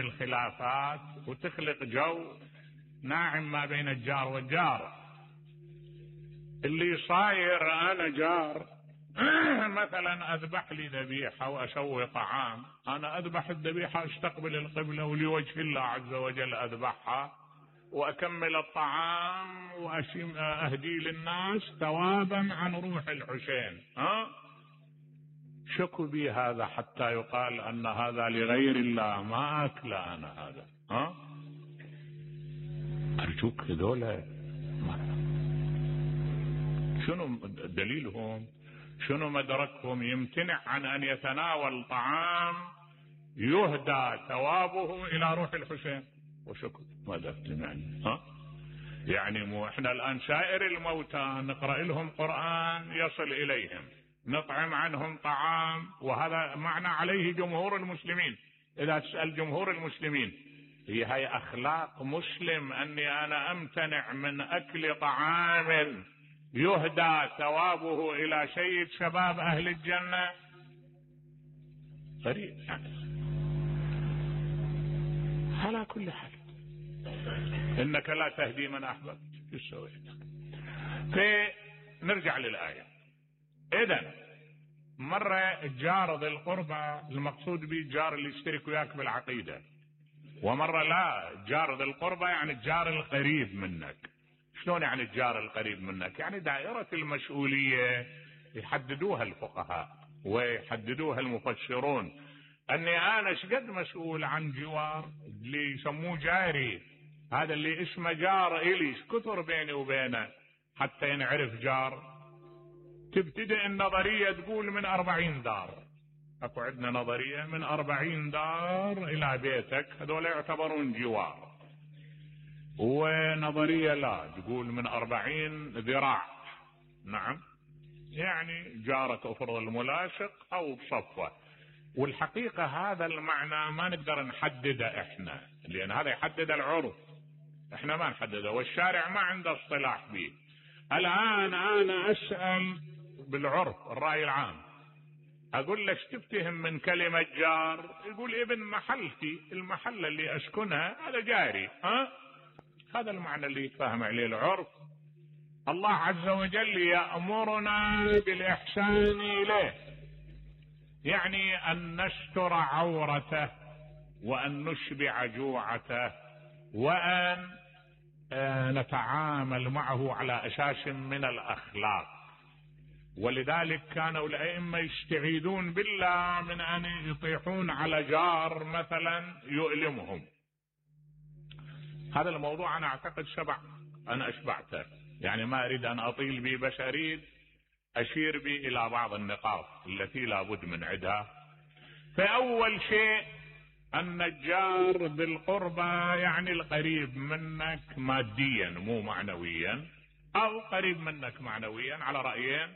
بالخلافات وتخلق جو ناعم ما بين الجار والجار. اللي صاير انا جار مثلا اذبح لي ذبيحة واسوي طعام، انا اذبح الذبيحة استقبل القبلة ولوجه الله عز وجل اذبحها واكمل الطعام واهدي للناس ثوابا عن روح الحسين. شكو بي هذا حتى يقال ان هذا لغير الله، ما اكل انا هذا. ارجوك هذولا شنو دليلهم؟ شنو مدركهم يمتنع عن ان يتناول طعام يهدى ثوابه الى روح الحسين؟ وشكو ماذا تمعني؟ يعني مو احنا الان سائر الموتى نقرأ لهم قرآن يصل اليهم، نطعم عنهم طعام، وهذا معنى عليه جمهور المسلمين. اذا تسأل جمهور المسلمين هي اخلاق مسلم اني انا امتنع من اكل طعام يهدى ثوابه الى سيد شباب اهل الجنة؟ غريب يعني. على كل حال انك لا تهدي من احببت. ايش سويت؟ فنرجع للآية. اذا مرة الجار ذي القربى المقصود به الجار اللي يشترك وياك بالعقيدة، ومرة لا، جار ذي القربى يعني الجار القريب منك. شلون يعني الجار القريب منك؟ يعني دائرة المسؤولية يحددوها الفقهاء ويحددوها المفسرون، اني انا شقد مسؤول عن جوار اللي يسموه جاري، هذا اللي اسمه جار الي، كثر بيني وبينه حتى ينعرف جار. تبتدئ النظرية تقول من 40 دار، اكو عندنا نظرية من 40 دار الى بيتك هذول يعتبرون جوار، ونظرية لا تقول من 40 ذراع. نعم، يعني جارك افرض الملاصق او بصفه. والحقيقة هذا المعنى ما نقدر نحدده احنا، لان هذا يحدد العرف، احنا ما نحدده، والشارع ما عنده اصطلاح به. الان انا اسأل بالعرف الرأي العام، اقول لك تفتهم من كلمة جار؟ يقول ابن محلتي، المحلة اللي اسكنها هذا جاري. هذا المعنى اللي يتفهم عليه العرف. الله عز وجل يأمرنا بالإحسان إليه، يعني أن نستر عورته وأن نشبع جوعته وأن نتعامل معه على أساس من الأخلاق. ولذلك كانوا الأئمة يستعيذون بالله من أن يطيحون على جار مثلا يؤلمهم. هذا الموضوع أنا أعتقد أنا أشبعته، يعني ما أريد أن أطيل به، بس أريد أشير به إلى بعض النقاط التي لا بد من عدها. فأول شيء أن الجار بالقربى يعني القريب منك ماديا مو معنويا، أو قريب منك معنويا على رأيين.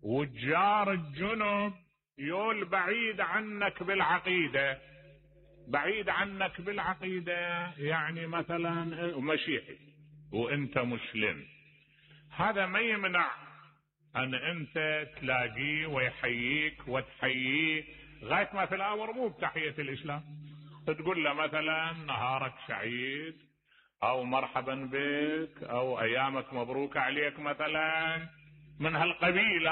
والجار الجنب يول بعيد عنك بالعقيدة، بعيد عنك بالعقيدة يعني مثلا مسيحي وانت مسلم، هذا ما يمنع ان انت تلاقيه ويحييك وتحييه غاية ما في الامر، مو بتحية الاسلام، تقول له مثلا نهارك سعيد او مرحبا بك او ايامك مبروك عليك مثلا من هالقبيل.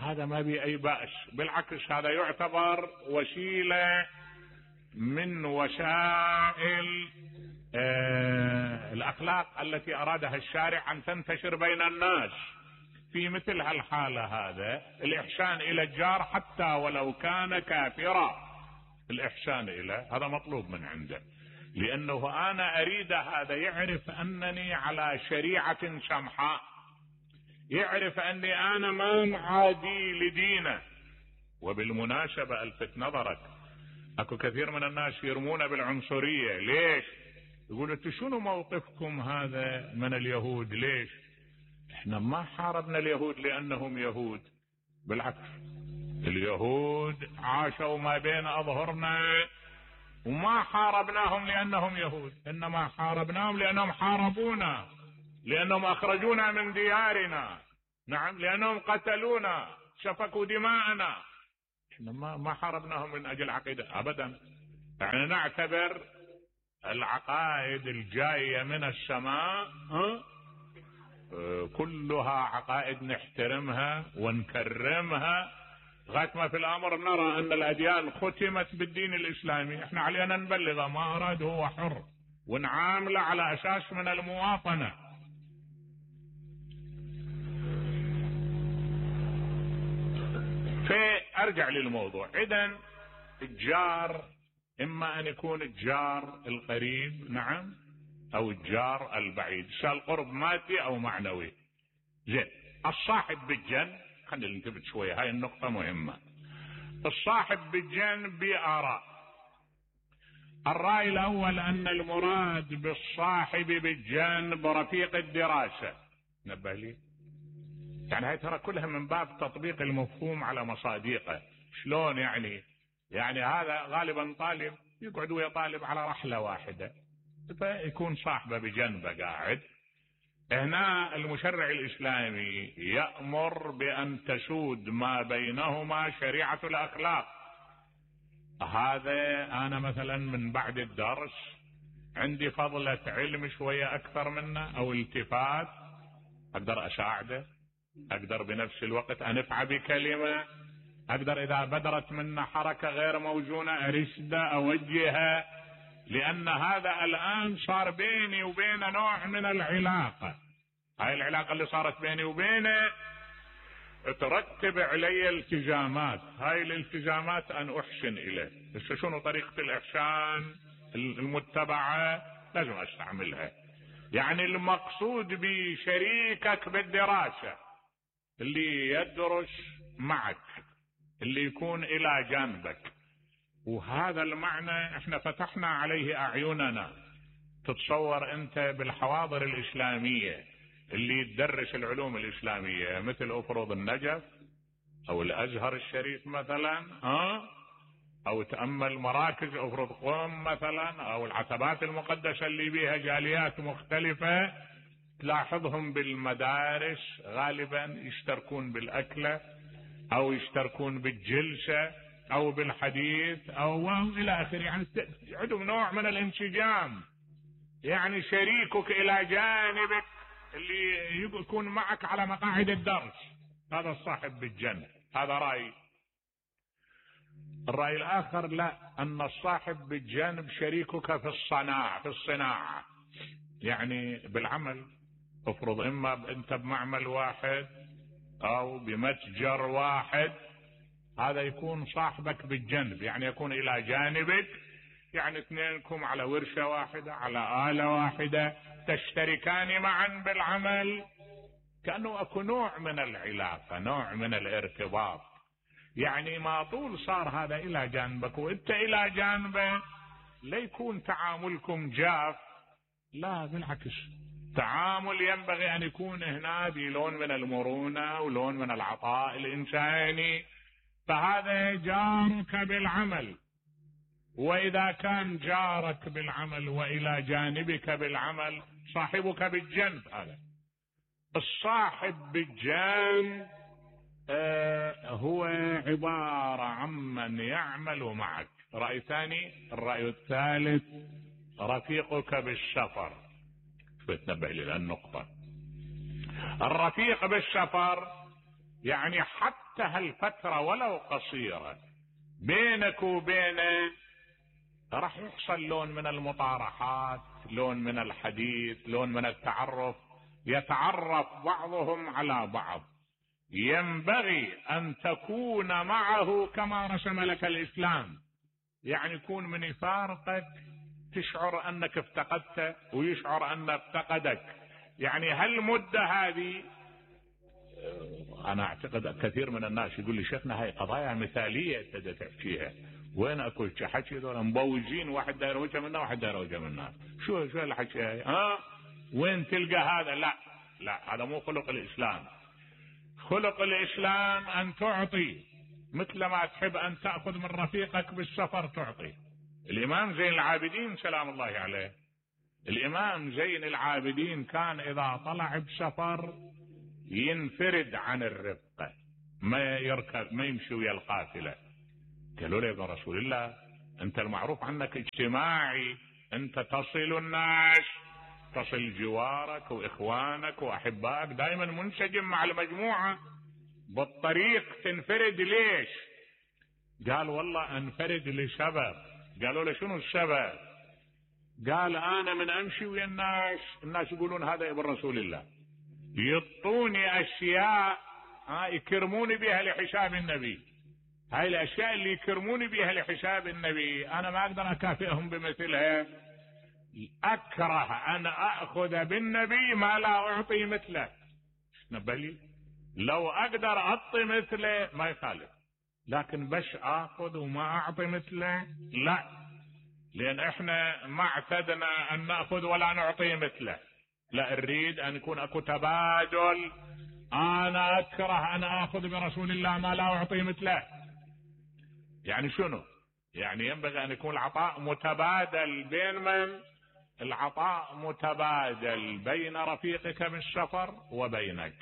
هذا ما بي اي بأس، بالعكس هذا يعتبر وسيلة من وسائل الأخلاق التي أرادها الشارع أن تنتشر بين الناس. في مثل هالحالة هذا الإحسان إلى الجار حتى ولو كان كافرا، الإحسان إليه هذا مطلوب من عنده، لأنه أنا أريد هذا يعرف أنني على شريعة سمحاء، يعرف أني أنا ما معادي لدينه. وبالمناسبة ألفت نظرك، اكو كثير من الناس يرمون بالعنصرية. ليش؟ يقول انتوا شنو موقفكم هذا من اليهود؟ ليش؟ احنا ما حاربنا اليهود لانهم يهود، بالعكس اليهود عاشوا ما بين اظهرنا وما حاربناهم لانهم يهود، انما حاربناهم لانهم حاربونا، لانهم اخرجونا من ديارنا، نعم، لانهم قتلونا سفكوا دماءنا. احنا ما حاربناهم من اجل عقيدة ابدا. يعني نعتبر العقائد الجاية من السماء كلها عقائد نحترمها ونكرمها، لغاية ما في الأمر نرى أن الأديان ختمت بالدين الإسلامي. احنا علينا نبلغ، ما أراد هو حر، ونعامله على أساس من المواطنة. فأرجع للموضوع. إذن الجار إما أن يكون الجار القريب، نعم، أو الجار البعيد، سواء القرب مادي أو معنوي. زين، الصاحب بالجنب، خلينا ننتبه شوية، هاي النقطة مهمة. الصاحب بالجنب بآراء. الرأي الأول أن المراد بالصاحب بالجنب رفيق الدراسة. نبه لي، يعني هاي ترى كلها من باب تطبيق المفهوم على مصادقه. شلون يعني هذا غالبا طالب يقعد ويا طالب على رحلة واحدة، فيكون صاحبه بجنبه قاعد. هنا المشرع الإسلامي يأمر بأن تسود ما بينهما شريعة الأخلاق. هذا أنا مثلا من بعد الدرس عندي فضلة علم شوية أكثر منه أو التفات، أقدر أساعده، أقدر بنفس الوقت أنفع بكلمة، أقدر إذا بدرت منا حركة غير موزونة أرشده أوجهها، لأن هذا الآن صار بيني وبينه نوع من العلاقة. هاي العلاقة اللي صارت بيني وبينه ترتب علي التزامات، هاي الالتزامات أن أحسن إليه. بس شنو طريقة الإحسان المتبعة؟ لازم أستعملها. يعني المقصود بشريكك بالدراسة اللي يدرس معك، اللي يكون إلى جانبك، وهذا المعنى احنا فتحنا عليه أعيننا. تتصور أنت بالحواضر الإسلامية اللي تدرس العلوم الإسلامية مثل أفرض النجف أو الأزهر الشريف مثلا، أو تأمل مراكز أفرض قوم مثلا، أو العتبات المقدسة اللي بيها جاليات مختلفة، تلاحظهم بالمدارس غالبا يشتركون بالأكلة أو يشتركون بالجلسة أو بالحديث أو إلى آخره. يعني عندهم نوع من الانسجام. يعني شريكك إلى جانبك اللي يكون معك على مقاعد الدرس، هذا الصاحب بالجنب. هذا رأي. الرأي الآخر لا، أن الصاحب بالجنب شريكك في الصناعة، يعني بالعمل. افرض إما أنت بمعمل واحد أو بمتجر واحد، هذا يكون صاحبك بالجنب، يعني يكون إلى جانبك، يعني اثنينكم على ورشة واحدة، على آلة واحدة، تشتركان معا بالعمل، كأنه أكو نوع من العلاقة، نوع من الارتباط. يعني ما طول صار هذا إلى جانبك وإنت إلى جانبه، لا يكون تعاملكم جاف، لا بالعكس، تعامل ينبغي أن يكون هنا بلون من المرونة ولون من العطاء الإنساني. فهذا جارك بالعمل. وإذا كان جارك بالعمل وإلى جانبك بالعمل، صاحبك بالجنب هذا. الصاحب بالجنب هو عبارة عمن يعمل معك. رأي ثاني. الرأي الثالث رفيقك بالسفر. بتنبه لي النقطة. الرفيق بالسفر يعني حتى هالفترة ولو قصيرة بينك وبينه راح يحصل لون من المطارحات، لون من الحديث، لون من التعرف، يتعرف بعضهم على بعض. ينبغي أن تكون معه كما رسم لك الإسلام، يعني يكون من يفارقك تشعر أنك افتقدته ويشعر أنه افتقدك. يعني هالمدة هذه، أنا أعتقد كثير من الناس يقول لي شيخنا هاي قضايا مثالية تبدأ تحكيها، وين أكو حكي ذولا مبوزين، واحد داير وجه منا واحد داير وجه منا، شو الحكي هاي؟ وين تلقى هذا؟ لا هذا مو خلق الإسلام. خلق الإسلام أن تعطي مثل ما تحب أن تأخذ من رفيقك بالسفر تعطي. الإمام زين العابدين سلام الله عليه، الإمام زين العابدين كان إذا طلع بسفر ينفرد عن الرفقة، ما يركب، ما يمشي ويا القافلة. قالوا له يا رسول الله انت المعروف عنك اجتماعي، انت تصل الناس، تصل جوارك واخوانك واحبائك، دائما منسجم مع المجموعة. بالطريق تنفرد ليش؟ قال والله انفرد لسبب. قالوا له شنو السبب؟ قال انا من امشي ويا الناس يقولون هذا ابن رسول الله، يعطوني اشياء يكرموني بها لحساب النبي. هاي الاشياء اللي يكرموني بها لحساب النبي انا ما اقدر اكافئهم بمثلها. اكره ان اخذ بالنبي ما لا اعطي مثله. نبلي لو اقدر اعطي مثله ما يخالف، لكن بس اخذ وما اعطي مثله لا، لان احنا ما اعتدنا ان ناخذ ولا نعطي مثله، لا نريد ان يكون اكو تبادل. انا اكره ان اخذ برسول الله ما لا اعطي مثله. يعني شنو؟ يعني ينبغي ان يكون العطاء متبادل. بين من؟ العطاء متبادل بين رفيقك بالسفر وبينك.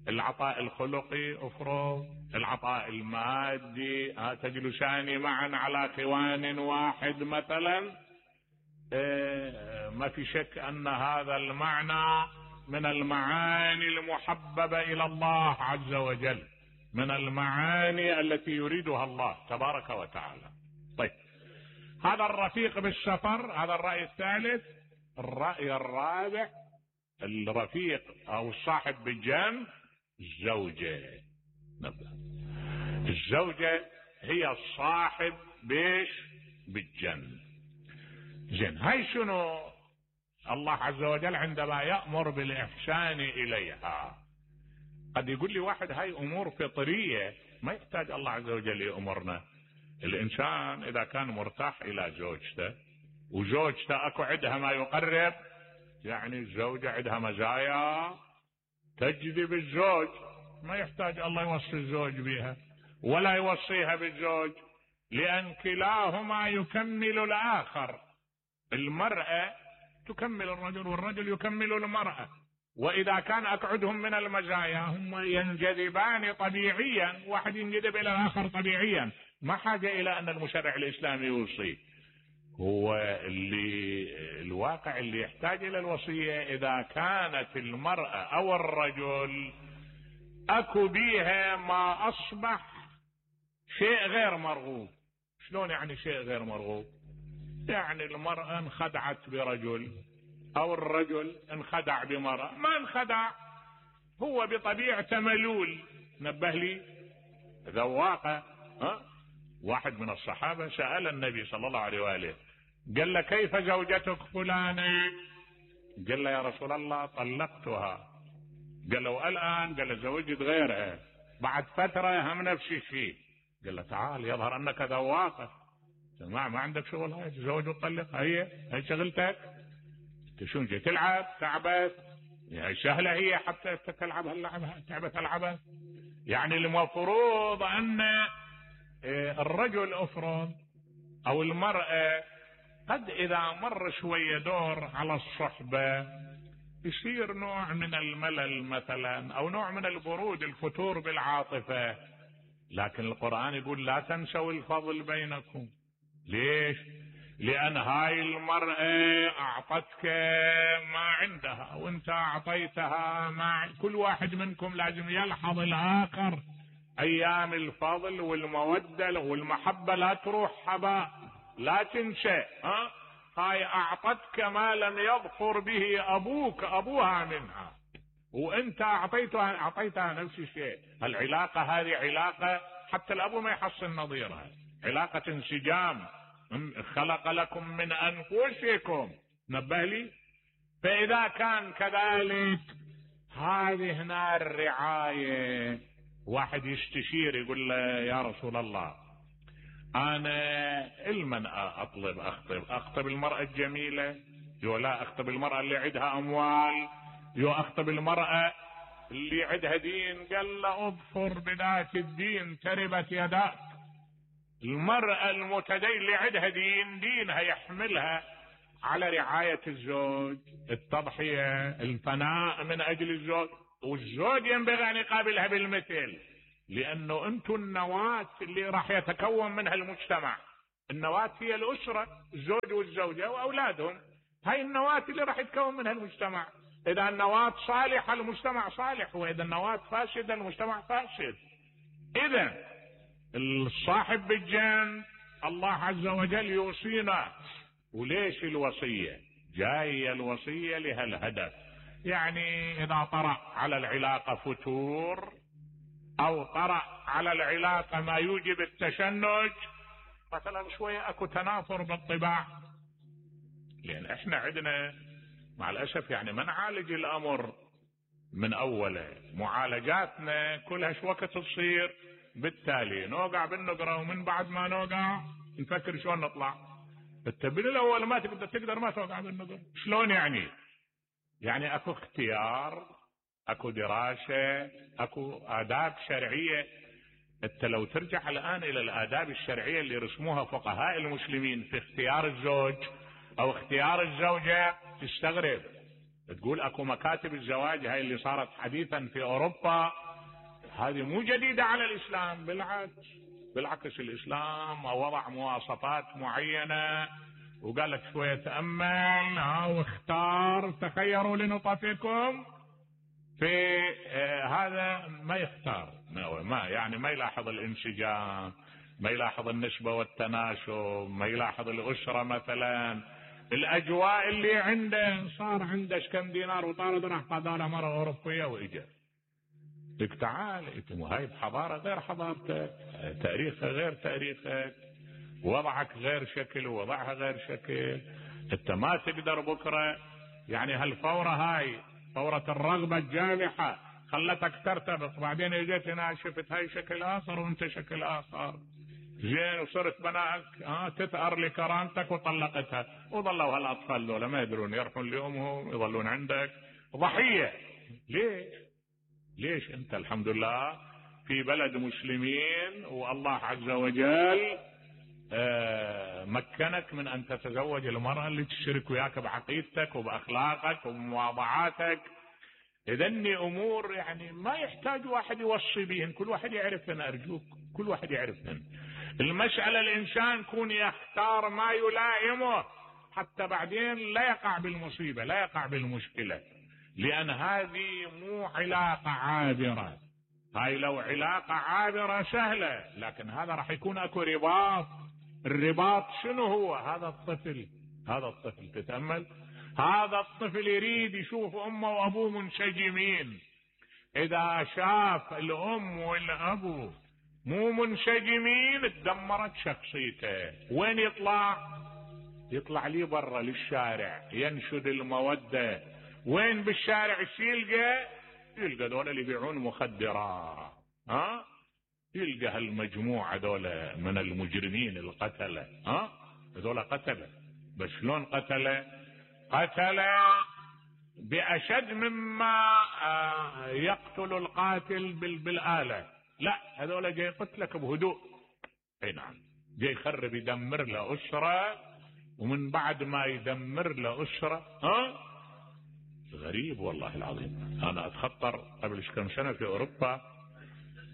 العطاء الخلقي افرض، العطاء المادي، تجلسان معا على خوان واحد مثلا، ما في شك ان هذا المعنى من المعاني المحببة الى الله عز وجل، من المعاني التي يريدها الله تبارك وتعالى. طيب هذا الرفيق بالسفر، هذا الرأي الثالث. الرأي الرابع، الرفيق او الصاحب بالجنب الزوجة. الزوجة هي الصاحب بيش بالجنب. زين، هاي شنو؟ الله عز وجل عندما يأمر بالإحسان إليها، قد يقول لي واحد هاي أمور فطرية ما يحتاج الله عز وجل يأمرنا. الإنسان إذا كان مرتاح إلى زوجته وزوجته أكو عندها ما يقرب، يعني الزوجة عندها مزايا تجذب الزوج، ما يحتاج الله يوصي الزوج بها ولا يوصيها بالزوج، لأن كلاهما يكمل الآخر. المرأة تكمل الرجل والرجل يكمل المرأة، وإذا كان أقعدهم من المزايا هم ينجذبان طبيعيا، واحد ينجذب إلى الآخر طبيعيا، ما حاجة إلى أن المشرع الإسلامي يوصي. هو اللي الواقع اللي يحتاج إلى الوصية إذا كانت المرأة أو الرجل أكو بيها ما أصبح شيء غير مرغوب. شلون يعني شيء غير مرغوب؟ يعني المرأة انخدعت برجل او الرجل انخدع بمرأة، ما انخدع، هو بطبيعته ملول. نبه لي ذواقة. واحد من الصحابة سأل النبي صلى الله عليه وآله، قال له كيف زوجتك فلانة؟ قال له يا رسول الله طلقتها. قال له الآن؟ قال له زوجت غيرها بعد فترة هم نفس الشيء. قال له تعال يظهر انك ذواقة، ما عندك شغل، هاي تزوج وتطلق، هي شغلتك. شو جاي تلعب؟ تعبت يعني سهلة هي حتى تلعب هاللعبة، تعبة تلعبها. يعني المفروض ان الرجل افرض او المرأة قد اذا مر شوية دور على الصحبة يصير نوع من الملل مثلا، او نوع من البرود، الفتور بالعاطفة، لكن القرآن يقول لا تنسوا الفضل بينكم. ليش؟ لأن هاي المرأة أعطتك ما عندها وانت أعطيتها ما. كل واحد منكم لازم يلحظ الآخر. أيام الفضل والمودة والمحبة لا تروح هباء، لا تنسى. هاي أعطتك ما لم يظفر به أبوها منها، وانت أعطيتها نفس الشيء. العلاقة هذه علاقة حتى الأبو ما يحصل نظيرها، علاقة انسجام. خلق لكم من أنفسكم. نبه لي. فإذا كان كذلك هذه هنا الرعاية. واحد يستشير يقول له يا رسول الله أنا المن أخطب المرأة الجميلة، يو لا أخطب المرأة اللي عندها أموال، يو أخطب المرأة اللي عندها دين؟ قال له اظفر بذات الدين تربت يداك. المرأة المتدين اللي عندها دينها يحملها على رعاية الزوج، التضحية، الفناء من أجل الزوج، والزوج ينبغي أن يقابلها بالمثل، لأنه أنتم النواة اللي راح يتكون منها المجتمع. النواة هي الأسرة، الزوج والزوجة وأولادهم، هاي النواة اللي راح يتكون منها المجتمع. إذا النواة صالحة المجتمع صالح، وإذا النواة فاسدة المجتمع فاسد. إذا الصاحب بالجنب الله عز وجل يوصينا. وليش الوصية؟ جاية الوصية لهالهدف. يعني إذا طرأ على العلاقة فتور أو طرأ على العلاقة ما يوجب التشنج، مثلا شوية أكو تنافر بالطباع، لأن إحنا عندنا مع الأسف يعني ما نعالج الأمر من أوله، معالجاتنا كلها شو وقت تصير، بالتالي نوقع بالنقرة، ومن بعد ما نوقع نفكر شلون نطلع. انت بالاول ما تقدر ما توقع بالنقرة. شلون يعني؟ يعني اكو اختيار، اكو دراسة، اكو آداب شرعية. انت لو ترجع الآن الى الآداب الشرعية اللي رسموها فقهاء المسلمين في اختيار الزوج او اختيار الزوجة تستغرب. تقول اكو مكاتب الزواج هاي اللي صارت حديثا في اوروبا، هذه مو جديدة على الاسلام، بالعكس الاسلام وضع مواصفات معينة وقال لك شوية تأمل واختار، تخيروا لنطفكم في هذا ما يختار، ما يعني ما يلاحظ الانسجام، ما يلاحظ النسبة والتناسب، ما يلاحظ الأسرة مثلا، الأجواء اللي عنده. صار عنده كم دينار وطارد راح قضى مرة أوروبية وإجا لك تعال انتم، هاي بحضارة غير حضارتك، تاريخها غير تاريخك، وضعك غير شكل ووضعها غير شكل. انت ما تقدر بكرة يعني هالفورة هاي فورة الرغبة الجامحة خلتك ترتبط، بعدين اجيت هنا شفت هاي شكل اخر وانت شكل اخر، زين وصرت بناك تثأر لكرامتك وطلقتها، وظلوا هالاطفال ذولا ما يدرون يروحون لامهم يظلون عندك ضحية. ليش انت الحمد لله في بلد مسلمين والله عز وجل مكنك من ان تتزوج المرأة اللي تشترك وياك بعقيدتك وباخلاقك وبمواضعاتك. اذني امور يعني ما يحتاج واحد يوصي بهن، كل واحد يعرفهن، ارجوك كل واحد يعرفهن. المسألة الانسان يكون يختار ما يلائمه حتى بعدين لا يقع بالمصيبة، لا يقع بالمشكلة، لان هذه مو علاقة عابرة. هاي لو علاقة عابرة سهلة، لكن هذا راح يكون اكو رباط. الرباط شنو هو؟ هذا الطفل تتأمل، هذا الطفل يريد يشوف امه وابوه منسجمين. اذا شاف الام والابو مو منسجمين تدمرت شخصيته. وين يطلع لي برا للشارع ينشد المودة. وين بالشارع يلقى دول اللي يبيعون مخدرات، يلقى هالمجموعة دول من المجرمين القتلة، دول قتلة. بس شلون قتلة بأشد مما يقتل القاتل بالآلة. لا، هذول جاي يقتلك بهدوء. اي نعم، جاي يخرب يدمر له أسرة، ومن بعد ما يدمر له أسرة غريب والله العظيم. انا اتخطر قبل كم سنة في اوروبا،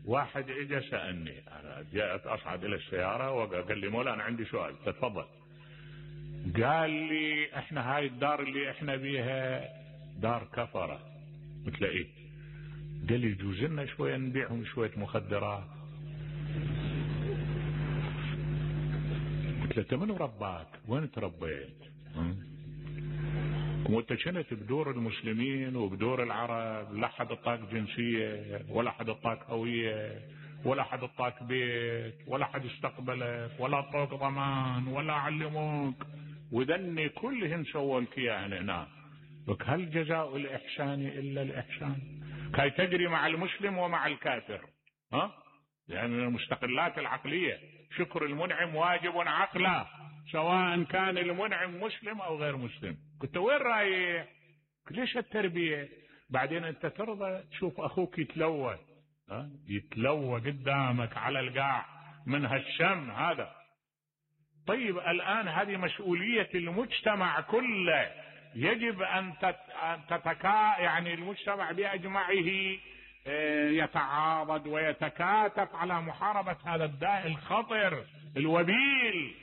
واحد اجى سألني، انا جاءت اصعد الى السيارة وقال لي مولا انا عندي سؤال تفضل. قال لي احنا هاي الدار اللي احنا بيها دار كفرة. قلت له ايه؟ قال لي يجوز لنا شوية نبيعهم شوية مخدرات. قلت له انت من رباك؟ وين تربيت؟ وانت كنت بدور المسلمين وبدور العرب لا حد اعطاك جنسية ولا حد اعطاك هوية ولا حد اعطاك بيت ولا حد استقبلك ولا اعطوك ضمان ولا علموك، وذني كلهن سووا لك اياه هنا. لك هل جزاء الاحسان الا الاحسان؟ كي تجري مع المسلم ومع الكافر. يعني من المستقلات العقلية شكر المنعم واجب عقلا، سواء كان المنعم مسلم او غير مسلم. كنت وين رايح؟ ليش التربية؟ بعدين انت ترضى تشوف اخوك يتلوى يتلوى قدامك على القاع من هالشم هذا. طيب الان هذه مسؤولية المجتمع كله، يجب ان يعني المجتمع باجمعه يتعاضد ويتكاتف على محاربة هذا الداء الخطر الوبيل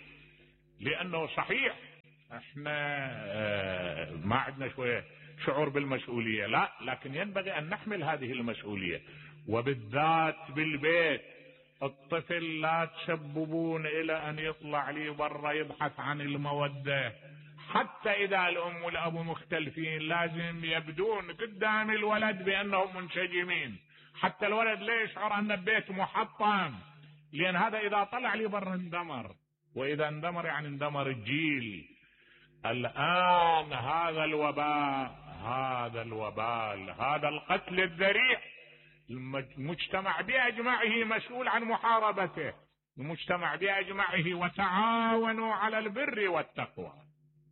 لانه صحيح احنا ما عندنا شوية شعور بالمسؤولية، لا، لكن ينبغي ان نحمل هذه المسؤولية، وبالذات بالبيت. الطفل لا تسببون الى ان يطلع لي برا يبحث عن المودة. حتى اذا الام والابو مختلفين لازم يبدون قدام الولد بانهم منسجمين، حتى الولد لا يشعر ان البيت محطم، لان هذا اذا طلع لي برا اندمر، واذا اندمر يعني اندمر الجيل. الان هذا الوبال، هذا القتل الذريع، المجتمع بأجمعه مسؤول عن محاربته، المجتمع بأجمعه. وتعاونوا على البر والتقوى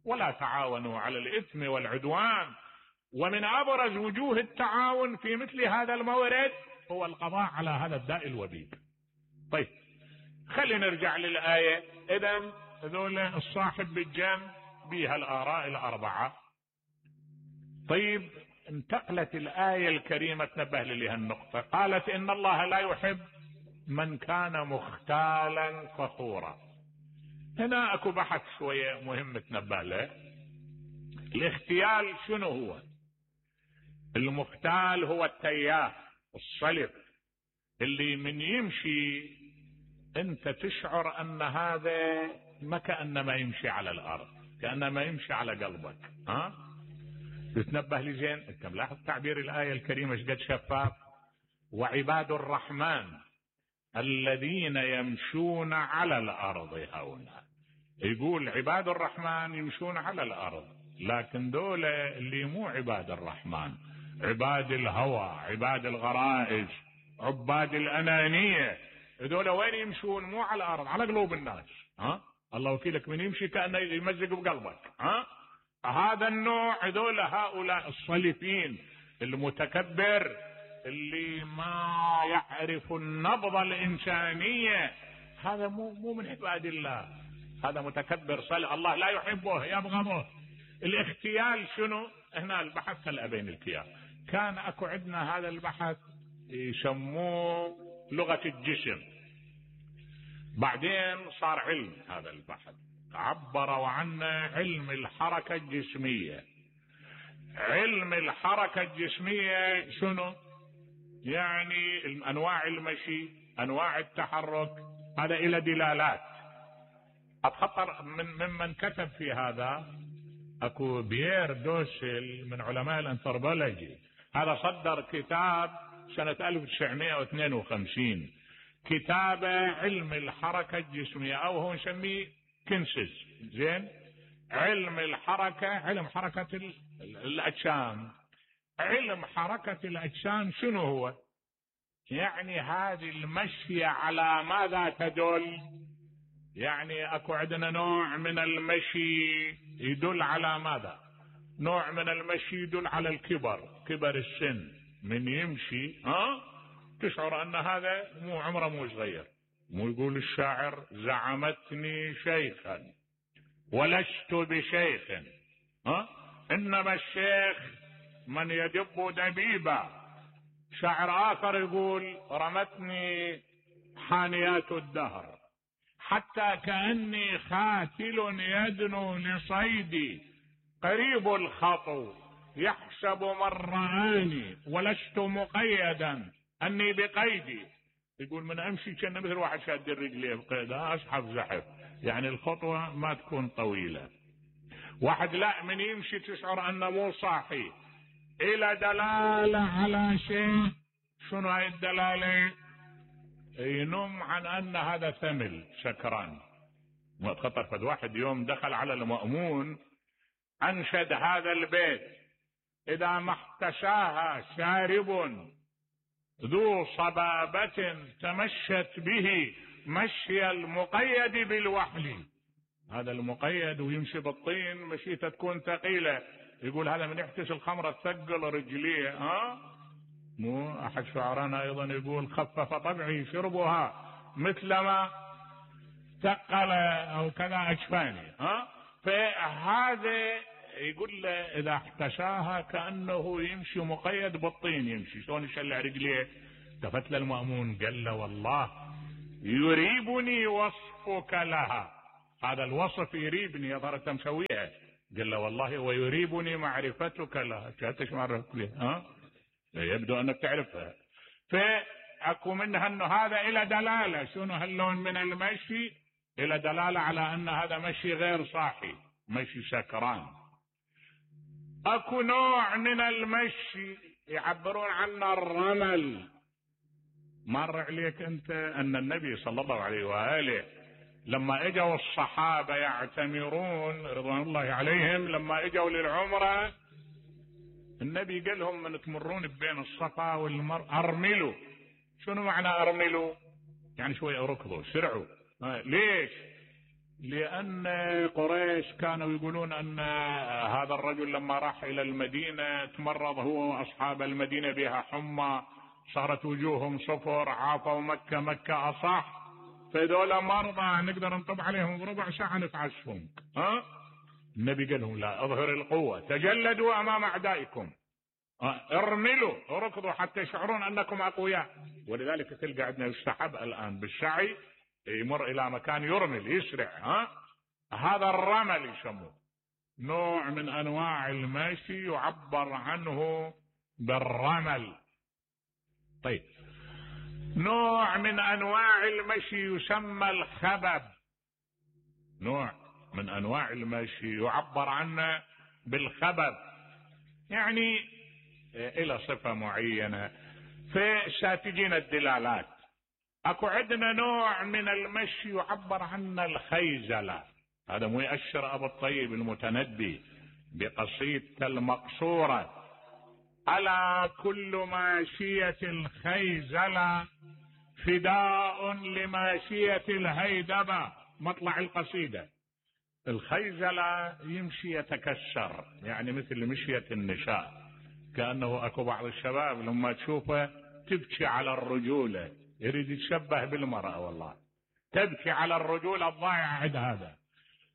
ولا تعاونوا على الإثم والعدوان. ومن أبرز وجوه التعاون في مثل هذا المورد هو القضاء على هذا الداء الوبيل. طيب خلينا نرجع للآية. إذن هذول الصاحب بالجنب بها الآراء الأربعة. طيب انتقلت الآية الكريمة تنبه لها النقطة، قالت إن الله لا يحب من كان مختالا فخورا. هنا اكو بحث شوية مهم تنبه له. الاختيال شنو هو؟ المختال هو التياه الصلب اللي من يمشي انت تشعر ان هذا ما كأنما يمشي على الارض، كأنما يمشي على قلبك. تتنبه لي زين، انت ملاحظ تعبير الآية الكريمة شقد شفاف؟ وعباد الرحمن الذين يمشون على الارض هونا. يقول عباد الرحمن يمشون على الارض، لكن دول اللي مو عباد الرحمن، عباد الهوى، عباد الغرائز، عباد الانانية، دول وين يمشون؟ مو على الارض، على قلوب الناس. الله وكيلك، من يمشي كأنه يمزق بقلبك. هذا النوع، دول هؤلاء الصلفين المتكبر اللي ما يعرف النبضة الإنسانية، هذا مو من عباد الله، هذا متكبر صلف، الله لا يحبه يبغضه. الاختيال شنو؟ هنا البحث هلا بين الكيان. كان اكو عندنا هذا البحث يسموه لغة الجسم، بعدين صار علم هذا البحث، عبروا عنه علم الحركة الجسمية. علم الحركة الجسمية شنو؟ يعني انواع المشي، انواع التحرك، هذا الى دلالات. اتخطر ممن كتب في هذا اكو بيير دوسل من علماء الانثروبولوجي، هذا صدر كتاب سنة 1952، كتابه علم الحركة الجسمية، او هو نسميه كنسز. زين، علم الحركة، علم حركة الاجسام. علم حركة الاجسام شنو هو؟ يعني هذه المشي على ماذا تدل؟ يعني اكو عندنا نوع من المشي يدل على ماذا؟ نوع من المشي يدل على الكبر، كبر السن، من يمشي تشعر ان هذا مو عمره مو صغير. مو يقول الشاعر زعمتني شيخا ولست بشيخ، انما الشيخ من يدب دبيبا. شاعر اخر يقول رمتني حانيات الدهر حتى كأني خاتل يدنو لصيدي، قريب الخطو يحسب من رآني ولست مقيدا اني بقيدي. يقول من امشي كان مثل واحد شاد الرجلين بقيدها، اسحب زحف، يعني الخطوة ما تكون طويلة. واحد لا، من يمشي تشعر انه مو صاحي، الى دلالة على شيء. شنو هاي الدلالة؟ ينم عن ان هذا ثمل سكران. خطر فد واحد يوم دخل على المأمون انشد هذا البيت: اذا ما احتشاها شارب ذو صبابة تمشت به مشي المقيد بالوحل. هذا المقيد ويمشي بالطين مشيته تكون ثقيلة، يقول هذا من يحتش الخمرة تثقل رجليه. مو احد شعرانا ايضا يقول خفف طبعي شربها مثلما ثقل او كذا اجفاني. فهذا يقول له اذا احتشاها كأنه يمشي مقيد بالطين، يمشي شلون يشلع رجليه. التفت للمأمون قال له والله يريبني وصفك لها، هذا الوصف يريبني يا ترى انت مسويها؟ قال له والله ويريبني معرفتك لها. شاتش معرفتك لها؟ يبدو انك تعرفها. فاكو منها انه هذا الى دلاله شنو هاللون من المشي، الى دلاله على ان هذا مشي غير صاحي، مشي سكران. اكو نوع من المشي يعبرون عنه الرمل. مر عليك انت ان النبي صلى الله عليه واله لما اجوا الصحابه يعتمرون رضوان الله عليهم، لما اجوا للعمره النبي قال لهم من تمرون بين الصفا والمروه ارملوا. شنو معنى ارملوا؟ يعني شوي ركضوا سرعوا. ليش؟ لأن قريش كانوا يقولون أن هذا الرجل لما راح إلى المدينة تمرض هو وأصحاب المدينة بها حمى، صارت وجوههم صفر، عافوا مكة أصح، فذولا مرضى نقدر نطب عليهم بربع ساعة نتعشهم. النبي قال لهم لا، اظهر القوة، تجلدوا أمام أعدائكم، ارملوا وركضوا حتى يشعرون أنكم أقوياء. ولذلك تلقى عندنا يستحب الآن بالسعي يمر الى مكان يرمل يسرع. هذا الرمل يسموه، نوع من انواع المشي يعبر عنه بالرمل. طيب نوع من انواع المشي يسمى الخبب، نوع من انواع المشي يعبر عنه بالخبب، يعني الى صفة معينة. فساتجين الدلالات. اكو عندنا نوع من المشي يعبر عنه الخيزلة، هذا مؤشر ابو الطيب المتنبي بقصيدته المقصورة: الا كل ماشية الخيزلة فداء لماشية الهيدبة. مطلع القصيدة: الخيزلة يمشي يتكسر، يعني مثل مشية النساء، كأنه اكو بعض الشباب لما تشوفه تبكي على الرجولة، يريد يتشبه بالمرأة، والله تبكي على الرجولة الضائعة عند هذا.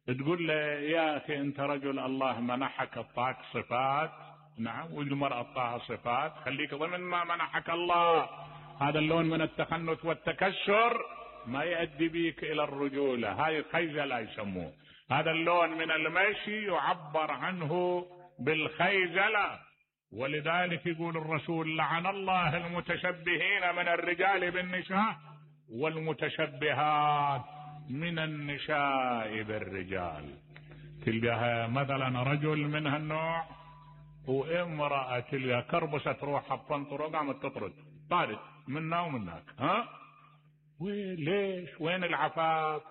تقول له يا أخي أنت رجل الله منحك اعطاك صفات، نعم، والمرأة اعطاها صفات، خليك ضمن ما منحك الله. هذا اللون من التخنث والتكسر ما يؤدي بيك إلى الرجولة، هاي الخيزلة يسموه. هذا اللون من المشي يعبر عنه بالخيزلة. ولذلك يقول الرسول: لعن الله المتشبهين من الرجال بالنساء والمتشبهات من النساء بالرجال. تلقاها مثلا رجل من هالنوع وامرأة تلقاها كربست روحها بطنطر وقامت تطرد، طارت منا ومناك. ليش؟ وين العفاف؟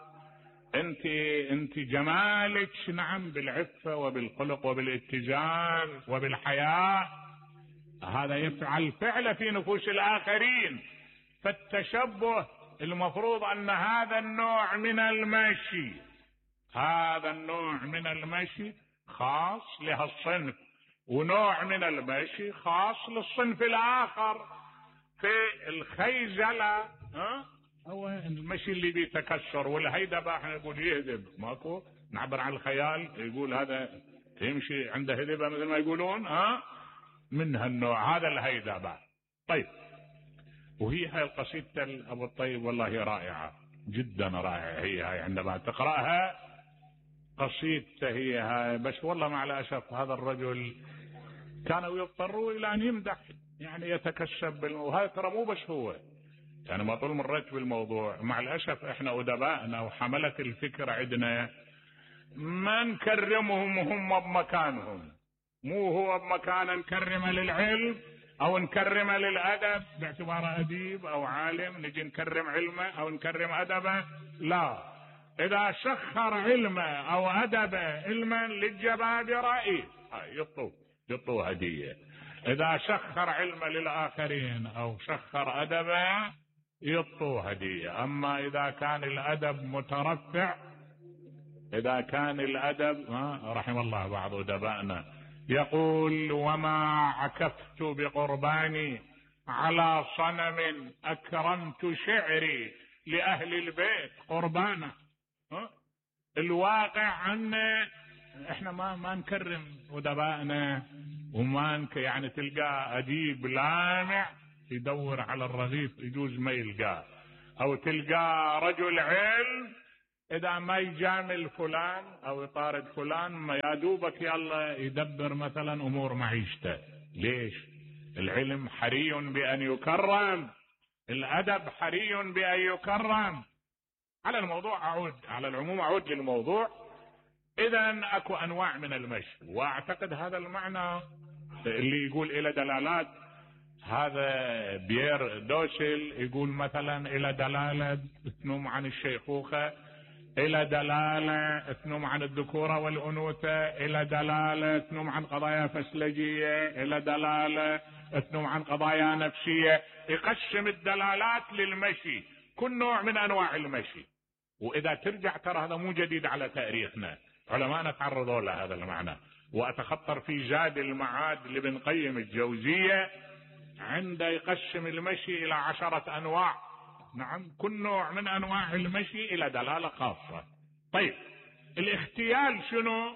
انت جمالك نعم بالعفة وبالخلق وبالاتزان وبالحياء، هذا يفعل فعل في نفوس الآخرين. فالتشبه المفروض أن هذا النوع من المشي، هذا النوع من المشي خاص لهالصنف، ونوع من المشي خاص للصنف الآخر. في الخيزلة هو المشي اللي بيتكسر، والهيدبة احنا نقول يهدب، ماكو نعبر عن الخيال، يقول هذا يمشي عنده هدبة مثل ما يقولون، من هالنوع، هذا الهيدبة. طيب، وهي هاي القصيدة ابو الطيب والله رائعة جدا، رائعة هي هاي عندما تقرأها قصيدته هي هاي. بس والله مع الأسف هذا الرجل كانوا يضطروا الى ان يمدح، يعني يتكسب وهذا ترى مو بس هو، يعني ما طول مريت بالموضوع. مع الأسف احنا أدبائنا وحملة الفكر عندنا ما نكرمهم وهم بمكانهم، مو هو بمكانه نكرمه للعلم او نكرمه للأدب باعتباره أديب او عالم، نجي نكرم علمه او نكرم أدبه، لا. اذا سخر علمه او أدبه علما للجبابرة يطوا هدية. اذا سخر علمه للآخرين او سخر أدبه يعطوه هدية. أما إذا كان الأدب مترفع، إذا كان الأدب رحم الله بعض أدبائنا يقول: وما عكفت بقرباني على صنم أكرمت شعري لأهل البيت قربانا. الواقع عنا احنا ما نكرم أدبائنا، وما يعني تلقى أديب لامع يدور على الرغيف يجوز ما يلقاه، او تلقى رجل علم اذا ما يجامل فلان او يطارد فلان ما يا دوبك يلا يدبر مثلا امور معيشته. ليش؟ العلم حري بان يكرم، الادب حري بان يكرم. على الموضوع اعود، على العموم اعود للموضوع. اذا اكو انواع من المشي، واعتقد هذا المعنى اللي يقول الى دلالات. هذا بيير دوشل يقول مثلا الى دلالة تنم عن الشيخوخة، الى دلالة تنم عن الذكورة والانوثة، الى دلالة تنم عن قضايا فسلجية، الى دلالة تنم عن قضايا نفسية. يقسم الدلالات للمشي، كل نوع من انواع المشي. واذا ترجع ترى هذا مو جديد على تاريخنا، علماءنا تعرضوا لهذا المعنى. واتخطر في زاد المعاد لابن قيم الجوزية عند يقسم المشي الى 10 انواع. نعم، كل نوع من انواع المشي الى دلالة خاصة. طيب الاختيال شنو؟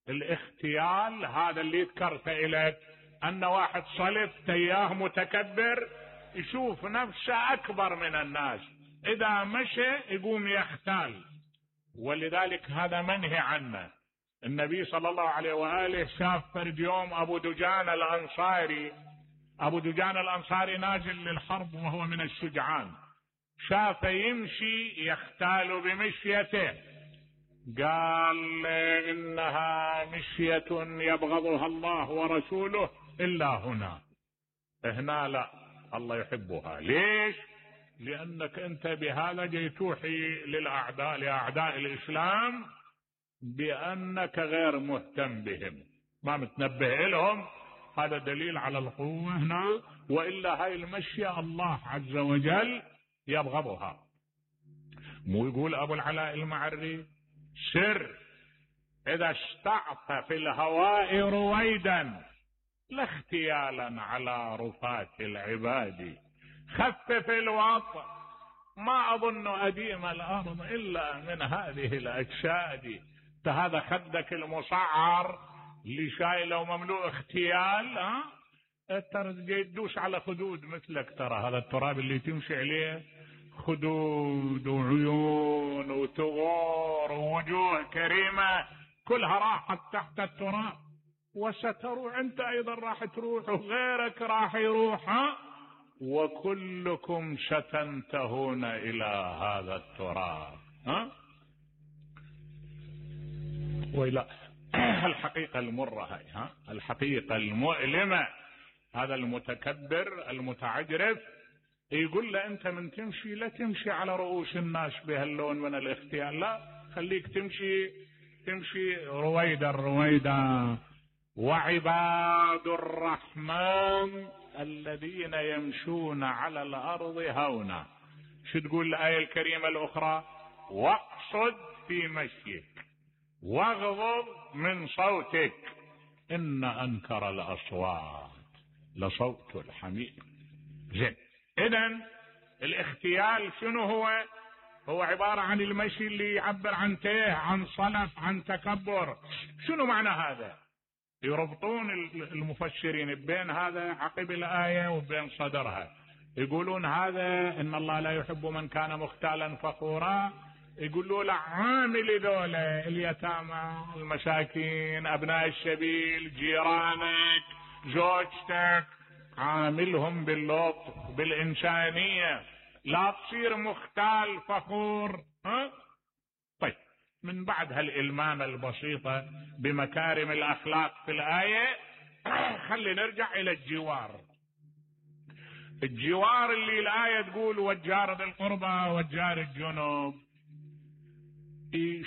الاختيال هذا اللي ذكرته اليك، ان واحد صلف تياه متكبر يشوف نفسه اكبر من الناس، اذا مشى يقوم يختال، ولذلك هذا منهي عنه. النبي صلى الله عليه وآله شاف فرد يوم ابو دجان الانصاري، ابو دجان الانصاري نازل للحرب وهو من الشجعان، شاف يمشي يختال بمشيته، قال انها مشية يبغضها الله ورسوله الا هنا، هنا لا الله يحبها. ليش؟ لانك انت بهذا جاي توحي للاعداء، لاعداء الاسلام، بانك غير مهتم بهم، ما متنبه لهم. هذا دليل على القوة هنا، والا هاي المشية الله عز وجل يبغضها. مو يقول ابو العلاء المعري سر اذا استعط في الهواء رويدا لا اختيالا على رفاة العباد، خفف الوطء ما اظن اديم الارض الا من هذه الاجساد. هذا خدك المصعر اللي شايله ومملوء اختيال، ترى تدوس على خدود مثلك. ترى هذا التراب اللي تمشي عليه خدود وعيون وثغور ووجوه كريمة كلها راحت تحت التراب، وستروح انت ايضا راح تروح وغيرك راح يروح، وكلكم ستنتهون الى هذا التراب. ولا الحقيقة المرة هاي، الحقيقة المؤلمة، هذا المتكبر المتعجرف يقول له انت من تمشي لا تمشي على رؤوس الناس بهاللون من الاختيال، لا خليك تمشي رويدا رويدا. وعباد الرحمن الذين يمشون على الارض هونا. شو تقول الآية الكريمة الاخرى؟ واقصد في مشيك واغضض من صوتك ان انكر الاصوات لصوت الحمير. زين، اذن الاختيال شنو هو؟ هو عبارة عن المشي اللي يعبر عن تيه، عن صلف، عن تكبر. شنو معنى هذا؟ يربطون المفسرين بين هذا عقب الآية وبين صدرها، يقولون هذا ان الله لا يحب من كان مختالا فخورا. يقولوا له عامل ذولا اليتامى المساكين ابناء السبيل جيرانك زوجتك، عاملهم باللطف بالإنسانية، لا تصير مختال فخور. طيب، من بعد هالإلمامة البسيطة بمكارم الأخلاق في الآية خلي نرجع إلى الجوار. الجوار اللي الآية تقول والجار ذي القربى والجار الجنوب،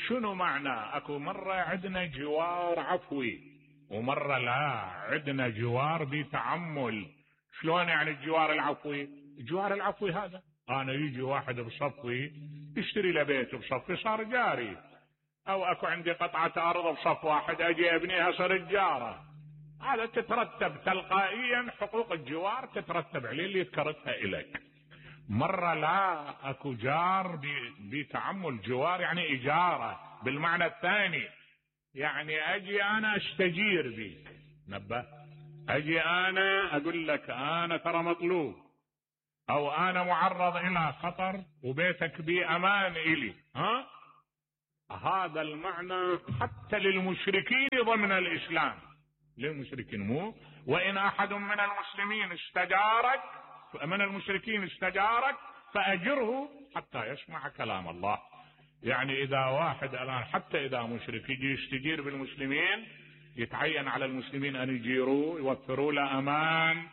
شنو معنى؟ اكو مرة عندنا جوار عفوي ومرة لا عندنا جوار بتعمل. شلون يعني الجوار العفوي؟ الجوار العفوي هذا انا يجي واحد بصفي يشتري له بيت بصفي صار جاري، او اكو عندي قطعة ارض بصف واحد اجي ابنيها صار جارة. هذا تترتب تلقائيا حقوق الجوار تترتب عليه اللي ذكرتها اليك. مرة لا اكو جار بتعمل، جوار يعني اجارة بالمعنى الثاني، يعني اجي انا استجير بيك، نبه اجي انا اقول لك انا ترى مطلوب، او انا معرض الى خطر وبيتك بي امان الي، هذا المعنى حتى للمشركين ضمن الإسلام، للمشركين مو وإن أحد من المسلمين استجارك من المشركين استجارك فأجره حتى يسمع كلام الله. يعني إذا واحد الآن حتى إذا مشرك يجي يستجير بالمسلمين يتعين على المسلمين أن يجيروه، يوفروا له أمان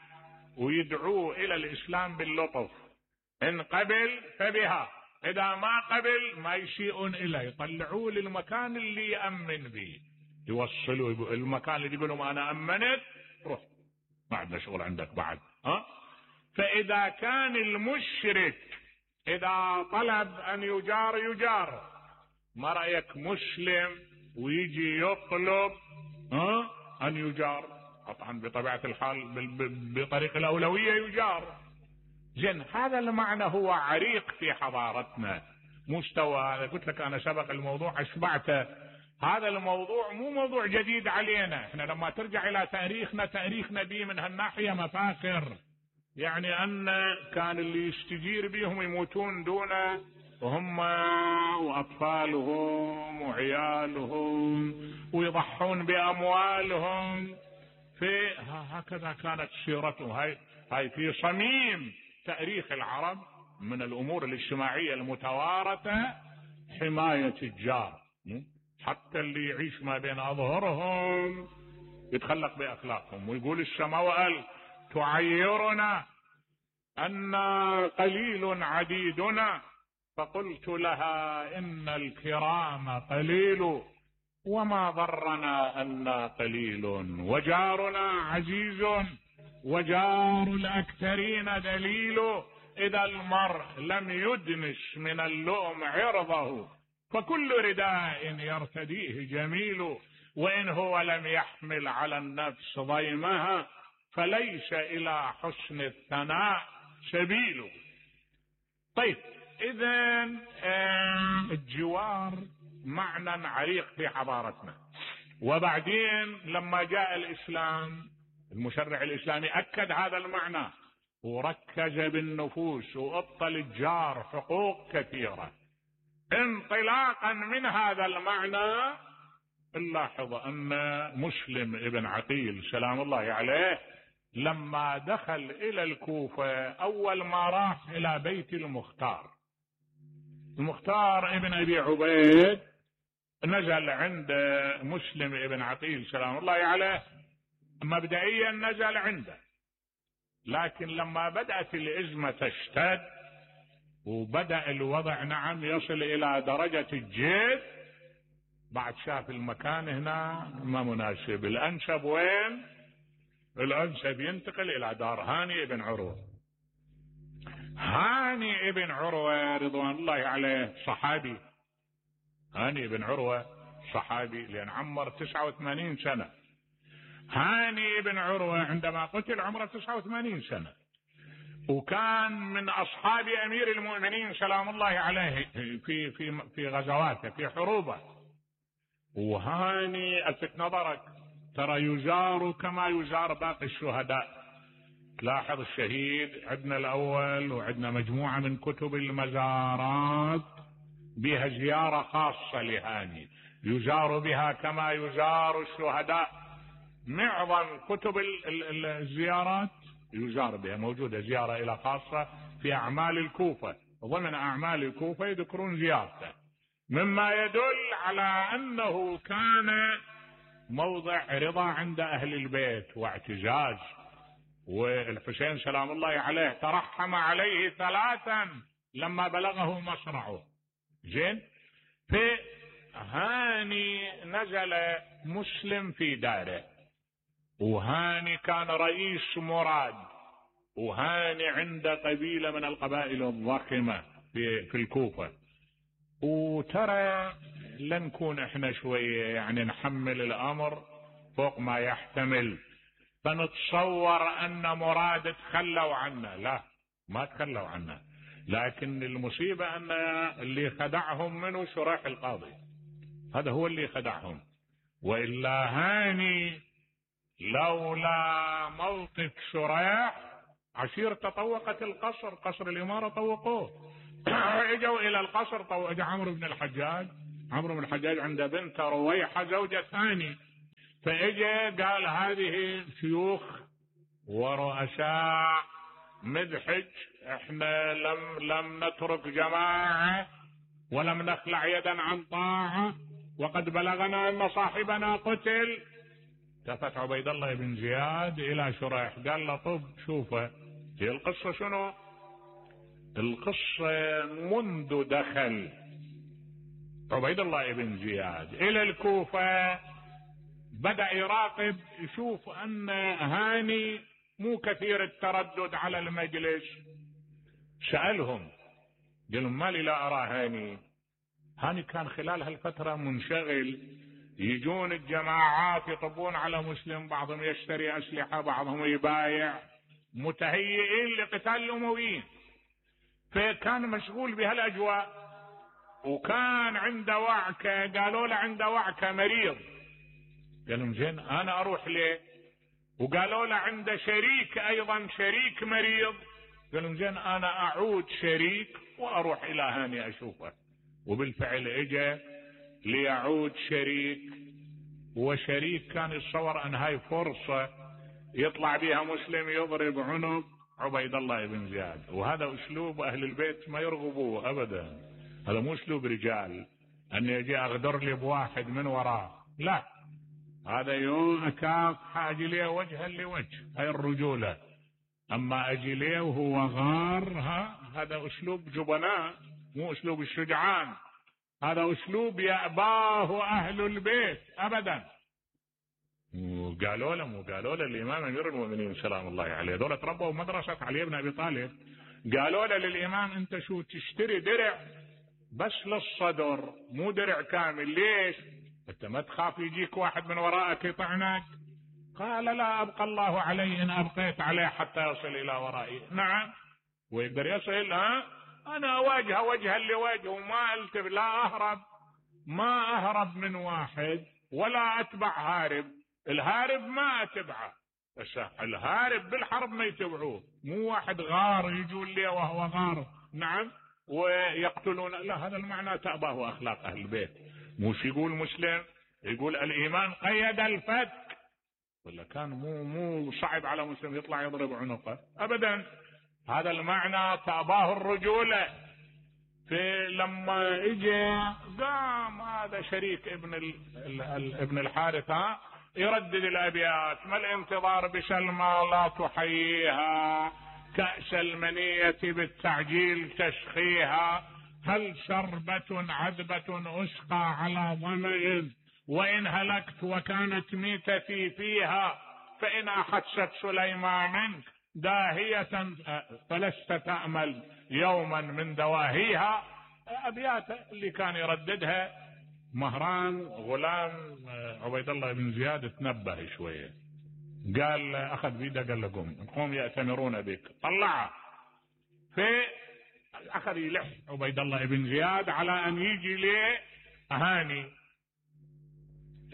ويدعوه إلى الإسلام باللطف، إن قبل فبها، إذا ما قبل ما يشيئون إليه، يطلعوه للمكان اللي يأمن به، يوصلوا المكان اللي يقولون أنا أمنت روح ما عندنا شغل عندك بعد. فإذا كان المشرك إذا طلب أن يجار، ما رأيك مسلم ويجي يطلب أن يجار؟ طبعا بطبيعة الحال بطريق الأولوية يجار. زين، هذا المعنى هو عريق في حضارتنا، مستوى قلت لك أنا سبق الموضوع أشبعته. هذا الموضوع مو موضوع جديد علينا، احنا لما ترجع إلى تاريخنا به من هالناحية مفاخر. يعني أن كان اللي يستجير بهم يموتون دونه هم وأطفالهم وعيالهم ويضحون بأموالهم. هكذا كانت سيرتهم. هاي في صميم تاريخ العرب من الأمور الاجتماعية المتوارثة حماية الجار، حتى اللي يعيش ما بين أظهرهم يتخلق بأخلاقهم. ويقول السماوات تعيرنا أن قليل عديدنا، فقلت لها إن الكرام قليل وما ضرنا أن قليل، وجارنا عزيز وجار الأكثرين دليل، إذا المرء لم يدنس من اللؤم عرضه فكل رداء يرتديه جميل، وإن هو لم يحمل على النفس ضيمها فليس إلى حسن الثناء سبيل. طيب، إذن الجوار معنى عريق في حضارتنا. وبعدين لما جاء الإسلام المشرع الإسلامي أكد هذا المعنى وركز بالنفوس وأعطى للجار حقوق كثيرة. انطلاقا من هذا المعنى نلاحظ أن مسلم ابن عقيل سلام الله عليه لما دخل إلى الكوفة أول ما راح إلى بيت المختار ابن أبي عبيد، نزل عند مسلم ابن عقيل سلام الله عليه. مبدئيا نزل عنده، لكن لما بدأت الأزمة تشتد وبدأ الوضع نعم يصل إلى درجة الجد، بعد شاف المكان هنا ما مناسب، الأنسب وين؟ الأنسب ينتقل إلى دار هاني بن عروة. هاني بن عروة رضوان الله عليه صحابي، هاني بن عروة صحابي لأن عمر 89 سنة. هاني بن عروة عندما قتل عمره 89 سنة، وكان من أصحاب أمير المؤمنين سلام الله عليه في غزواته في حروبه. وهاني ألفت نظرك ترى يزار كما يزار باقي الشهداء. تلاحظ الشهيد عندنا الأول وعندنا مجموعة من كتب المزارات بها زيارة خاصة لهاني يزار بها كما يزار الشهداء. معظم كتب الزيارات يزار بها، موجودة زيارة إلى خاصة في أعمال الكوفة، ضمن أعمال الكوفة يذكرون زيارته، مما يدل على أنه كان موضع رضا عند أهل البيت واعتزاز. والحسين سلام الله عليه ترحم عليه 3 لما بلغه مصرعه. زين، فهاني نزل مسلم في داره، وهاني كان رئيس مراد، وهاني عند قبيلة من القبائل الضخمة في الكوفة. وترى لنكون احنا شوية يعني نحمل الامر فوق ما يحتمل، فنتصور ان مراد تخلوا عنا. لا، ما تخلوا عنا، لكن المصيبة ان اللي خدعهم منه شريح القاضي، هذا هو اللي خدعهم. وإلا هاني لولا موقف شريح عشير تطوقت القصر، قصر الإمارة طوقوه. اجوا إلى القصر، اجى عمرو بن الحجاج عمرو بن الحجاج عنده بنت رويحة زوجة ثاني، فاجى قال هذه شيوخ ورؤساء مدحج، احنا لم نترك جماعة ولم نخلع يدا عن طاعة، وقد بلغنا ان صاحبنا قتل. التفت عبيد الله بن زياد الى شريح قال له طب شوفه، هي القصة شنو؟ القصة منذ دخل عبيد الله بن زياد الى الكوفة بدأ يراقب يشوف ان هاني مو كثير التردد على المجلس. سألهم قال ما لي لا ارى هاني كان خلال هالفترة منشغل، يجون الجماعات يطبون على مسلم، بعضهم يشتري اسلحة بعضهم يبايع، متهيئين لقتال الامويين، فكان مشغول بهالاجواء. وكان عنده وعكة، قالوا له عنده وعكة مريض، قال لهم زين انا اروح ليه؟ وقالوا له عنده شريك ايضا شريك مريض، قال لهم زين انا اعود شريك واروح الى هاني اشوفه. وبالفعل اجى ليعود شريك، وشريك كان يتصور ان هاي فرصة يطلع بها مسلم يضرب عنق عبيد الله بن زياد. وهذا اسلوب اهل البيت ما يرغبوه ابدا، هذا مو اسلوب رجال ان يجي اغدر لي بواحد من وراه، لا، هذا يوم اكافح اجي ليه وجها لوجه، هاي الرجولة. اما اجي ليه وهو غار، هذا اسلوب جبناء، مو اسلوب الشجعان، هذا اسلوب يأباه اهل البيت ابدا. وقالوا له الامام امير المؤمنين سلام الله عليه، دول تربوا مدرسة علي بن ابي طالب، قالوا له للامام انت شو تشتري درع بس للصدر مو درع كامل، ليش؟ انت ما تخاف يجيك واحد من وراءك يطعنك؟ قال لا ابقى الله علي ان ابقيت عليه حتى يصل الى ورائي. نعم، ويقدر يصل، انا اواجهه وجها لوجه وما التف، لا اهرب، ما اهرب من واحد ولا اتبع هارب، الهارب ما اتبعه، بس الهارب بالحرب ما يتبعوه، مو واحد غار يجون لي وهو غار، نعم، ويقتلون، لا، هذا المعنى تأباه اخلاق اهل البيت. مش يقول مسلم يقول الايمان قيد الفتك، ولا كان مو صعب على مسلم يطلع يضرب عنقه ابدا، هذا المعنى تأباه الرجولة. لما اجى قام هذا شريك ابن الحارث يردد الابيات: ما الانتظار بسلمى لا تحييها، كأس المنية بالتعجيل تشخيها، هل شربة عذبة أسقى على ظمئ، وإن هلكت وكانت ميتتي فيها، فإن أحست سليمان داهية فلست تأمل يوما من دواهيها. أبيات اللي كان يرددها مهران غلام عبيد الله بن زياد تنبه شوية، قال أخذ بيده قال له قوم يأتمرون بك، طلعه، أخذ يلح عبيد الله بن زياد على أن يجي ليه هاني،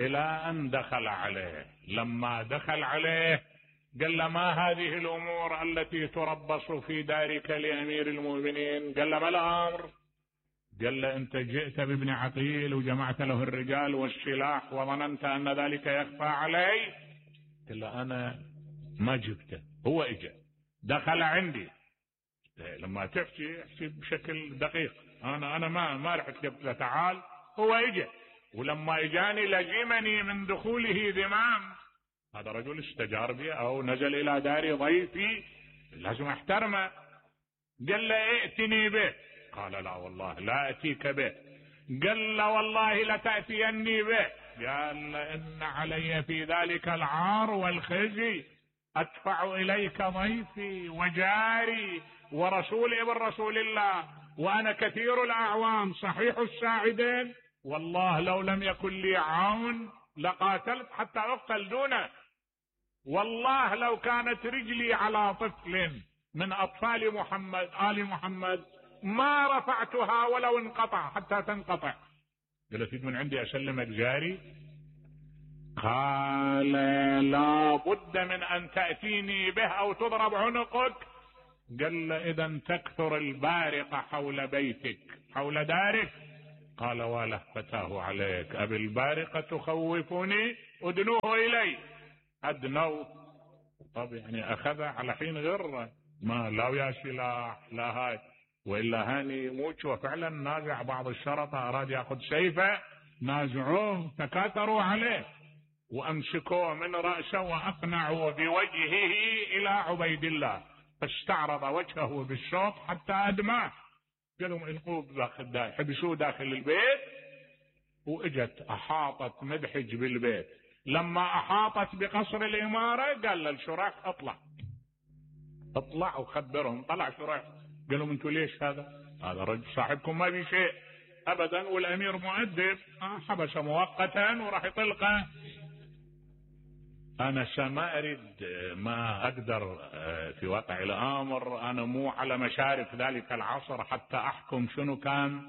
إلى أن دخل عليه. لما دخل عليه قال له ما هذه الأمور التي تربص في دارك لأمير المؤمنين؟ قال له ما الأمر؟ قال له أنت جئت بابن عقيل وجمعت له الرجال والسلاح وظننت أن ذلك يخفى علي؟ قال له أنا ما جبته، هو إجا دخل عندي، لما تحكي احكي بشكل دقيق، أنا ما رحت قلت له تعال، هو إجا، ولما إجاني لزمني من دخوله ذمام، هذا رجل استجار بي أو نزل إلى داري ضيفي لازم احترمه. قال له ائتني به، قال لا والله لا أتيك به. قال له والله لتأتيني به. قال إن علي في ذلك العار والخزي، أدفع إليك ضيفي وجاري ورسول ابن رسول الله، وأنا كثير الأعوان صحيح الساعدين، والله لو لم يكن لي عون لقاتلت حتى أقتل دونه، والله لو كانت رجلي على طفل من أطفال محمد آل محمد ما رفعتها ولو انقطع حتى تنقطع. قلت من عندي أسلمك جاري؟ قال لا بد من أن تأتيني به أو تضرب عنقك. قال إذا تكثر البارقة حول بيتك حول دارك. قال وله فتاه عليك أبي البارقة تخوفني أدنوه إلي. أدنوه. طب يعني أخذ على حين غره، ما لا ويا سلاح لا هاي، وإلا هاني يموت. وفعلا نازع بعض الشرطة أراد يأخذ سيفه، نازعوه تكاثروا عليه وأمسكوه من رأسه وأقنعوا بوجهه إلى عبيد الله، فاستعرض وجهه بالشوط حتى أدماه. قالوا القوه داخل، حبسوه داخل البيت. وإجت أحاطت مدحج بالبيت. لما أحاطت بقصر الإمارة قال للشريح اطلع وخبرهم. طلع شريح قال لهم انتوا ليش هذا رجل صاحبكم ما بي شيء ابدا، والامير مؤدب، حبس مؤقتا وراح يطلقه. انا سما اريد، ما اقدر في واقع الامر، انا مو على مشارف ذلك العصر حتى احكم شنو كان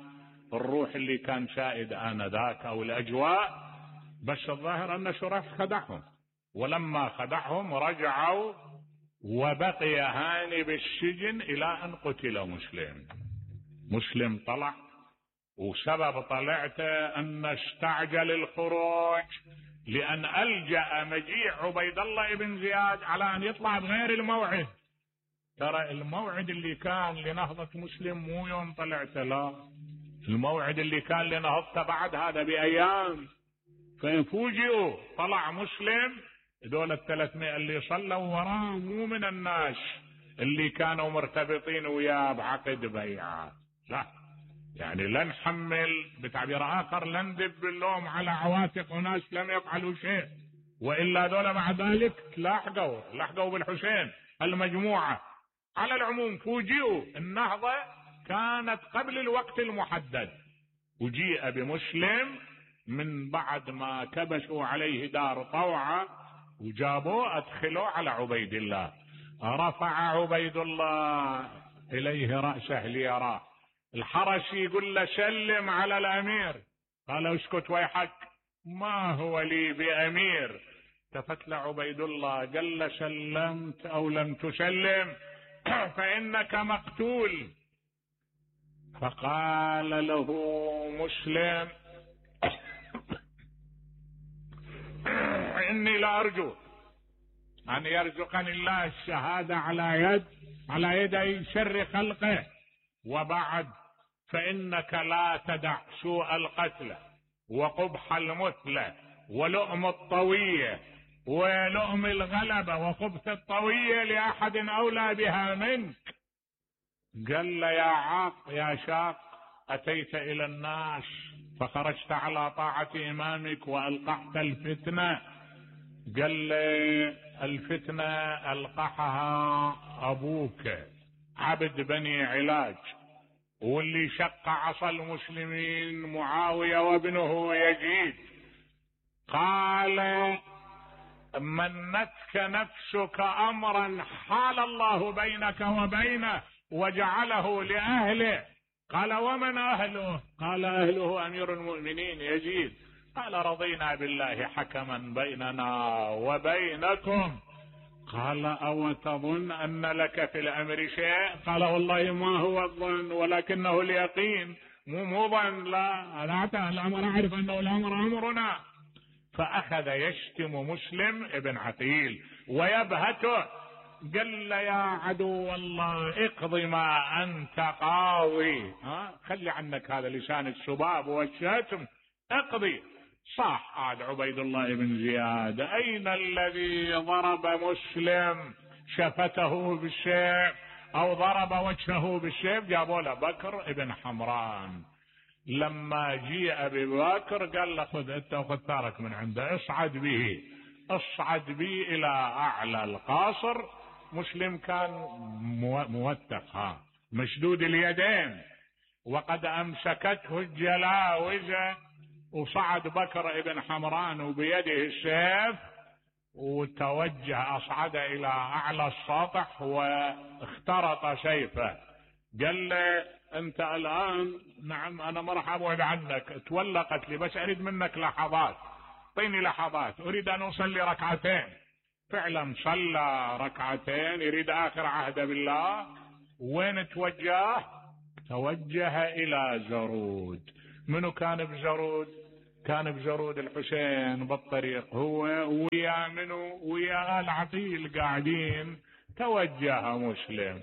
الروح اللي كان سائد انذاك او الاجواء، بس الظاهر ان شريح خدعهم. ولما خدعهم رجعوا، وبقي هاني بالسجن الى ان قتل مسلم طلع. وسبب طلعته ان استعجل الخروج لان الجأ مجيء عبيد الله بن زياد على ان يطلع بغير الموعد. ترى الموعد اللي كان لنهضة مسلم مو يوم طلعته، لا، الموعد اللي كان لنهضته بعد هذا بايام. ففوجئوا طلع مسلم، دول 300 اللي صلوا وراه مو من الناس اللي كانوا مرتبطين وياه بعقد بيعة، لا، يعني لا نحمل بتعبير آخر، لا ندب اللوم على عواتق وناس لم يفعلوا شيء، وإلا دول بعد ذلك لحقوا بالحسين المجموعة. على العموم فوجئوا النهضة كانت قبل الوقت المحدد، وجيء بمسلم من بعد ما كبسوا عليه دار طوعة وجابوه أدخلوا على عبيد الله. رفع عبيد الله إليه رأسه ليراه. الحرس يقول له سلم على الأمير. قال اسكت ويحك، ما هو لي بأمير. التفت له عبيد الله قال له سلمت أو لم تسلم فإنك مقتول. فقال له مسلم إني لأرجو أن يرزقني الله الشهادة على يدي شر خلقه، وبعد فإنك لا تدع سوء القتل وقبح المثلى ولؤم الطوية ولؤم الغلبة وخبث الطوية لأحد أولى بها منك. قال له يا شاق أتيت إلى الناس فخرجت على طاعة إمامك وألقحت الفتنة. قال لي الفتنة ألقحها أبوك عبد بني علاج، واللي شق عصا المسلمين معاوية وابنه يزيد. قال منتك نفسك أمرا حال الله بينك وبينه وجعله لأهله. قال ومن أهله؟ قال أهله أمير المؤمنين يزيد. قال رضينا بالله حكما بيننا وبينكم. قال أو تظن أن لك في الأمر شيء؟ قال والله ما هو الظن ولكنه اليقين، مو ظن، لا الأمر أعرف أنه الأمر أمرنا. فأخذ يشتم مسلم ابن عقيل ويبهته. قال له يا عدو الله اقضي ما أنت قاضي، خلي عنك هذا لسان السباب والشتم، اقضي. صاح عاد عبيد الله بن زياد أين الذي ضرب مسلم شفته بالسيف أو ضرب وجهه بالسيف؟ جابوا له بكر ابن حمران. لما جيء ببكر قال له خذ انت وخذ ثارك من عنده، اصعد به إلى أعلى القاصر. مسلم كان موثق مشدود اليدين وقد أمسكته الجلاوزة، وصعد بكر ابن حمران وبيده السيف وتوجه أصعد إلى أعلى السطح واخترط سيفه. قال له أنت الآن، نعم أنا ما راح أبعد عنك، تولى قتلي، بس أريد منك لحظات، اعطيني لحظات، أريد أن أصلي ركعتين. فعلا صلى ركعتين، يريد آخر عهد بالله. وين توجه؟ توجه إلى زرود. منو كان بجرود؟ كان بجرود الحسين بالطريق، هو ويا منو؟ ويا آل عقيل قاعدين. توجه مسلم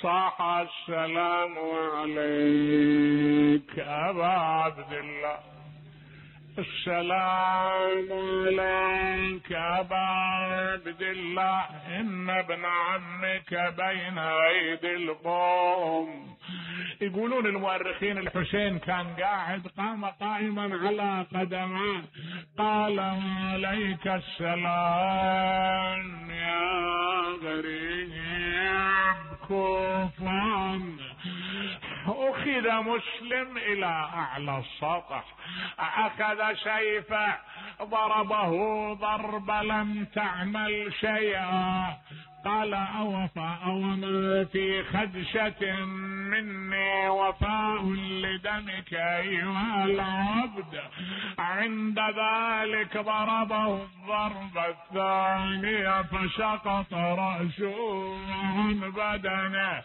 صاح السلام عليك أبا عبد الله، السلام عليك أبا عبد الله، إن ابن عمك بين أيدي القوم. يقولون المؤرخين الحسين كان قاعد، قام قائما على قدمه، قال عليك السلام يا غريب كوفان. أخذ مسلم إلى أعلى السطح، أخذ سيفه ضربه ضرب لم تعمل شيئا، قال أوما في خدشة مني وفاء لدمك أيها العبد. عند ذلك ضربه الضربة الثانية فسقط رأسه عن بدنه،